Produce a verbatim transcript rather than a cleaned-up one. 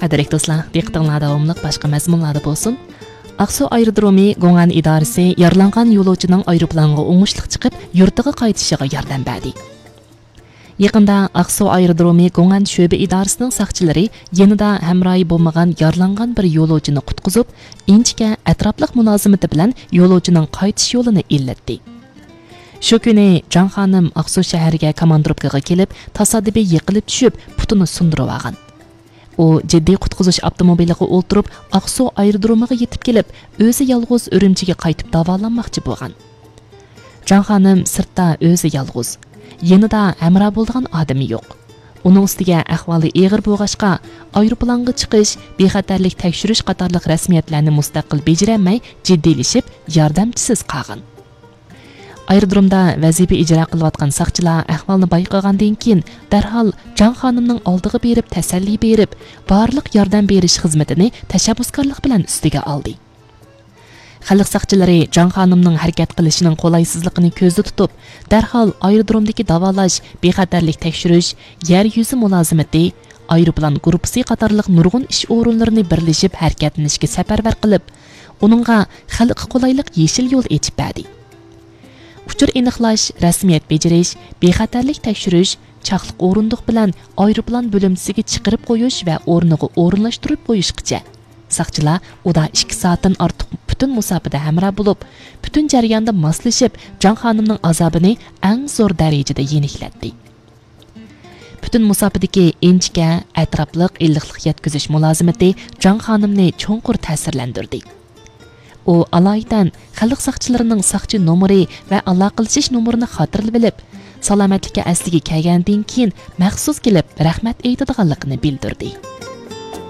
قەدىرلىك دوستلار، دىققىتىڭلار داۋاملىق باشقا مەزمۇنلاردا بولسۇن. ئاقسۇ ئايرودرومى گوڭئەن ئىدارىسى يارىلانغان يولۇچىنىڭ ئايروپىلانغا ئوڭۇشلۇق چىقىپ، يۇرتىغا قايتىشىغا ياردەم بەردى. يېقىندا ئاقسۇ ئايرودرومى گوڭئەن شۆبە ئىدارىسىنىڭ ساقچىلىرى يېنىدا ھەمراھى بولمىغان يارىلانغان بىر يولۇچىنى قۇتقۇزۇپ، ئىنچىكە، ئەتراپلىق مۇلازىمىتى بىلەن يولۇچىنىڭ قايتىش يولىنى ئىللەتتى. شۇ كۈنى جاڭ خانىم ئاقسۇ شەھىرىگە كاماندىروپكىغا كېلىپ، تاسادىپىي يىقىلىپ چۈشۈپ، پۇتىنى سۇندۇرۇۋالغان. ئۇ جىددىي قۇتقۇزۇش ئاپتوموبىلىغا ئولتۇرۇپ، ئاقسۇ ئايرودرومىغا يېتىپ كېلىپ، ئۆزى يالغۇز ئۈرۈمچىگە قايتىپ داۋالانماقچى بولغان. جاڭ خانىم سىرتتا ئۆزى يالغۇز. يېنىدا ھەمراھ بولىدىغان ئادىمى يوق. ئۇنىڭ ئۈستىگە ئەھۋالى ئېغىر بولغاچقا، ئايروپىلانغا چىقىش، بىخەتەرلىك تەكشۈرۈش قاتارلىق رەسمىيەتلەرنى مۇستەقىل بېجىرەلمەي، جىددىيلىشىپ، ياردەمچىسىز قالغان. ئايرودرومدا ۋەزىپە ئىجرا قىلىۋاتقان ساقچىلار ئەھۋالنى بايقىغاندىن كېيىن، دەرھال جاڭ خانىمنىڭ ئالدىغا بېرىپ تەسەللى بېرىپ، بارلىق ياردەم بېرىش خىزمىتىنى تەشەببۇسكارلىق بىلەن ئۈستىگە ئالدى. خەلق ساقچىلىرى جاڭ خانىمنىڭ ھەرىكەت قىلىشىنىڭ قولايسىزلىقىنى كۆزدە تۇتۇپ، دەرھال ئايرودرومدىكى داۋالاش، بىخەتەرلىك تەكشۈرۈش، يەر يۈزى مۇلازىمىتى، ئايروپىلان گۇرۇپپىسى قاتارلىق نۇرغۇن ئىش ئورۇنلىرىنى بىرلىشىپ ھەرىكەتلىنىشكە سەپەرۋەر قىلىپ، ئۇنىڭغا خەلققە قولايلىق يېشىل يول ئېچىپ بەردى. ئۇچۇر ئېنىقلاش، رەسمىيەت بېجىرىش، بىخەتەرلىك تەكشۈرۈش، چاقلىق ئورۇندۇق بىلەن ئايروپىلان بۆلۈمچىسىگە چىقىرىپ قويۇش ۋە ئورنىغا ئورۇنلاشتۇرۇپ قويۇشقىچە، ساقچىلار ئۇدا ئىككى سائەتتىن ئارتۇق پۈتۈن مۇساپىدە ھەمراھ بولۇپ، پۈتۈن جەرياندا ماسلىشىپ، جاڭ خانىمنىڭ ئازابىنى ئەڭ زور دەرىجىدە يېنىكلەتتى. پۈتۈن مۇساپىدىكى ئىنچىكە، ئەتراپلىق، ئىللىقلىق يەتكۈزۈش مۇلازىمىتى جاڭ خانىمنى چوڭقۇر تەسىرلەندۈردى. ئۇ ئالايىتەن خەلق ساقچىلىرىنىڭ ساقچى نومۇرى ۋە ئالاقىلىشىش نومۇرىنى خاتىرىلىۋېلىپ، سالامەتلىككە ئەسلىگە كەلگەندىن كېيىن مەخسۇس كېلىپ رەھمەت ئېيتىدىغانلىقىنى بىلدۈردى.